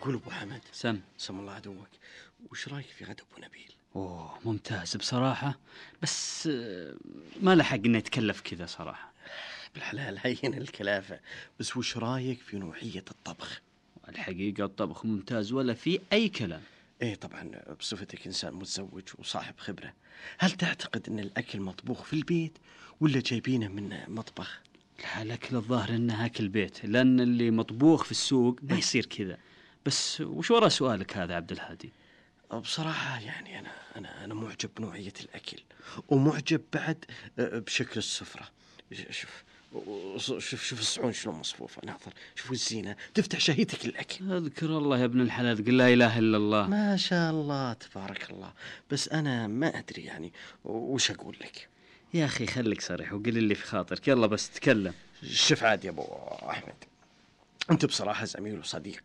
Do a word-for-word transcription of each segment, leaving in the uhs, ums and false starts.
أقول أبو حمد، سم سم الله عدوك، وش رأيك في غدا أبو نبيل؟ أوه ممتاز بصراحة، بس آه، ما لحق إنه يتكلف كذا صراحة. بالحلال هين الكلافة، بس وش رأيك في نوعية الطبخ؟ الحقيقة الطبخ ممتاز ولا في أي كلام. إيه طبعا، بصفتك إنسان متزوج وصاحب خبرة، هل تعتقد أن الأكل مطبوخ في البيت ولا جايبينه من مطبخ؟ لا، الأكل الظاهر إنه أكل بيت، لأن اللي مطبوخ في السوق ما يصير كذا. بس وش وراء سؤالك هذا عبد الهادي؟ بصراحة يعني أنا أنا أنا معجب بنوعية الأكل، ومعجب بعد بشكل السفرة. شوف شوف شوف الصحون شلون مصفوفة، ناظر شوف الزينة تفتح شهيتك الأكل. اذكر الله يا ابن الحلال، قل لا إله إلا الله. ما شاء الله تبارك الله، بس أنا ما أدري يعني وش أقول لك. يا أخي خليك صريح وقل اللي في خاطرك، يلا بس تكلم. شوف عاد يا أبو أحمد، أنت بصراحة زميل وصديق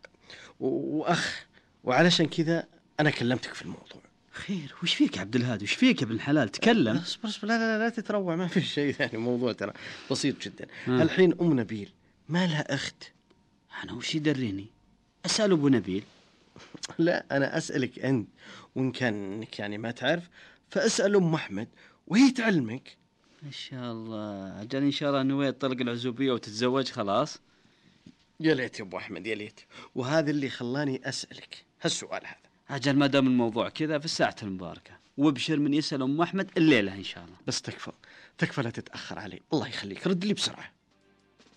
وأخ، وعلشان كذا أنا كلمتك في الموضوع. خير وش فيك يا عبد الهادي؟ وش فيك يا ابن الحلال؟ تكلم. اصبر اصبر، لا لا لا تتروع، ما في شيء ثاني، موضوع ترى بسيط جدا. ها. الحين أم نبيل ما لها أخت؟ أنا وش يدريني؟ أسأل أبو نبيل. لا أنا أسألك أنت، وإن كان إنك يعني ما تعرف فأسأل أم أحمد وهي تعلمك. ما شاء الله، أجل إن شاء الله نويت طلق العزوبية وتتزوج خلاص. يا ليت يا أبو أحمد يا ليت، وهذا اللي خلاني أسألك هالسؤال هذا. أجل ما دام الموضوع كذا في الساعة المباركة، وابشر من يسأل أم أحمد الليلة إن شاء الله. بس تكفى تكفى لا تتأخر علي، الله يخليك رد لي بسرعة.